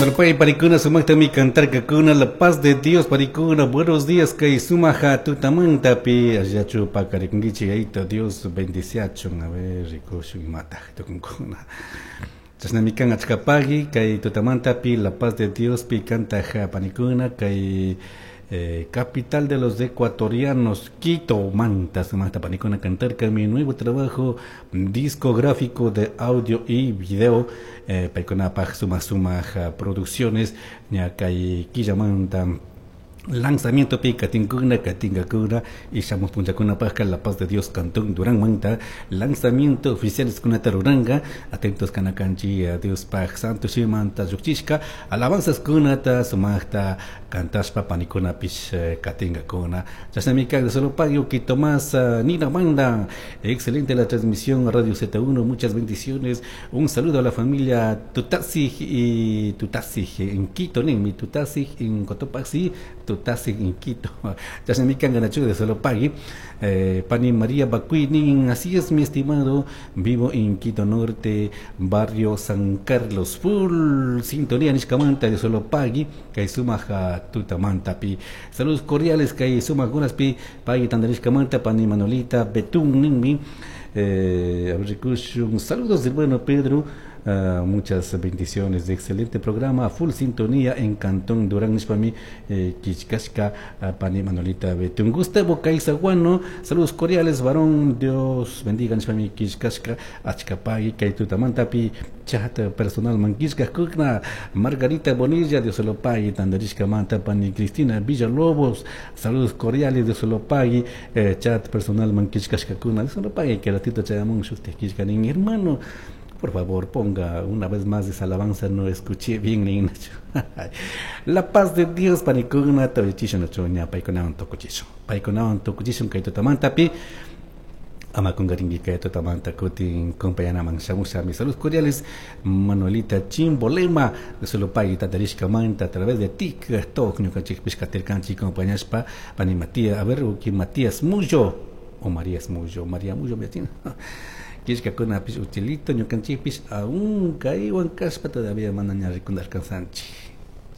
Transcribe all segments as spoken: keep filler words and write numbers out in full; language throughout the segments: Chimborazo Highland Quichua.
Solopay panicuna sumaqtami cantarkakuna la paz de Dios panicuna buenos días kay sumaja tutamantapi allachu pakarikunkichik ayto Dios bendiciachun a ver rikushun imataq tukunkuna chashnami kan achkapaqui kay tutamantapi la paz de Dios pi kantaq panicuna kay eh, capital de los ecuatorianos, Quito, Manta, sumaqta panicuna cantarka mi nuevo trabajo discográfico de audio y video, eh, paykunapaj suma sumaj producciones, ña kay quillamanta lanzamiento pi katinkuna katinkakuna y shamuj punllakunapajka la paz de Dios cantón Durán manta lanzamiento oficiales kunata ruranga atentos kanakanchi Dios paj santo shimanta llukchishka alabanzas kunata sumaqta kantashpa panikunapish katinkakuna chashnami kan solo pago Quito más Nina Manda excelente la transmisión Radio Z uno muchas bendiciones un saludo a la familia Tutasig y Tutasig en Quito mi Tutasig en Cotopaxi Tutasig en Quito chashnami kan ganachu de solo pagui eh, Pani María Bacuini así es mi estimado vivo en Quito Norte barrio San Carlos full sintonía nishkamanta de solo pagui kay sumaja tutamanta pi saludos cordiales kay sumaq pi pagui tandarishkamanta pani Manolita Betún ninmi eh, saludos del bueno Pedro. Uh, muchas bendiciones de excelente programa full sintonía en Cantón Durán nishpami eh, Kichkashka uh, pani Manolita Betún Gustavo Caizaguano saludos cordiales varón Dios bendiga nishpami Kichkashka achkapagui kay tutamantapi chat personal manquishka kukna Margarita Bonilla Dios lo pague tandarishka manta pani Cristina Villalobos saludos cordiales Dios lo pague eh, chat personal manquishka kuna Dios lo pague que ratito chayamun shukti kishka nin hermano por favor, ponga una vez más esa alabanza, no escuché bien ni La paz de Dios, panicuna, tawichisho no choña, paykunawan tukuchishun. Paykunawan tukuchishun kay tutamantapi. Ama kungaringi kay tutamanta kutin compañanaman shamusha mis saludos cordiales Manuelita Chimbolema de Solopay tatarishka manta a través de TikTok ñukanchikpish katirkanchik compañashpa pani Matías a ver uki Matías Mullo o Marías Mullo María Mullo me atina kishkakunapish utilito ñukanchikpish aún kaywan kashpa todavía mana ña rikundarkansanchik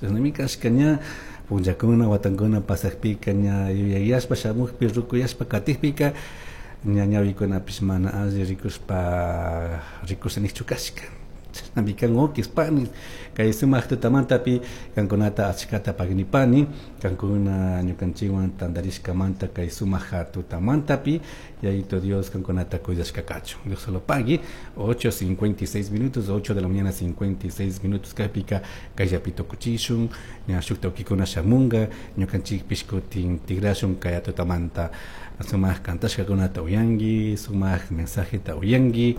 chashnami kashka ña punllakuna watankuna pasakpika ña yuyayashpa shamukpi rukuyashpa katikpika ña ñawikunapish mana alli rikushpa rikushanikchu kashka chashnami kan ukis panis kay sumaq tutamantapi kankunata achkata pagnipani kankuna ñukanchikwan tantarishkamanta kay sumaq tutamantapi yayito Dios kankunata cuidashka kachun Dios lo pague ocho cincuenta y seis minutos ocho de la mañana cincuenta y seis minutos kaypika kayllapi tukuchishun ña shukta ukikuna shamunga ñukanchikpish kutin tigrashun kay tutamanta sumaq kantashkakunata uyanki sumaq mensajeta uyanki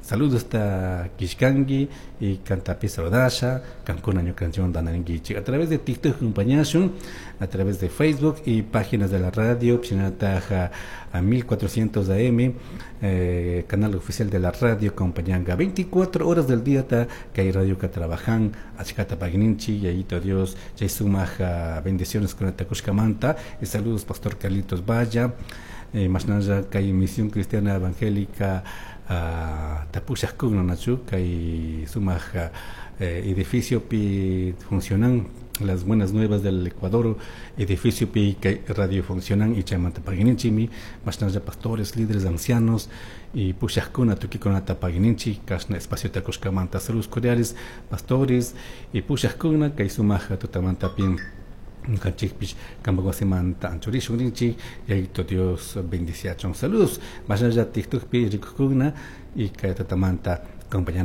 saludos hasta Kishkangi y Cantapi saludasha, kankuna ñukanchikwan tanarinkichik a través de TikTok acompañashun, a través de Facebook y páginas de la radio, Pshinataja a mil cuatrocientos A M, eh, canal oficial de la radio acompañanga veinticuatro horas del día ta kay radio ka trabajan, achkata pagninchi, yayito Dios, chay sumaja bendiciones con takushkamanta y saludos Pastor Carlitos Valla, eh, mashnalla kay Misión Cristiana Evangélica Uh, tapushajkuna nachu kay sumaq eh, edificio pi funcionan las buenas nuevas del Ecuador edificio pi kay radio funcionan y chaymanta pagininchimi mashnalla pastores líderes ancianos y pushajkuna tukikunata pagininchi kashna espacio takushkamanta saludos cordiales pastores y pushajkuna kay sumaq tutamanta pi ñukanchikpish kanpak wasimanta anchurishun rinchik yayito Dios bendiciachun saludos mashnalla TikTokpi rikukuna y kay tutamanta acompañana.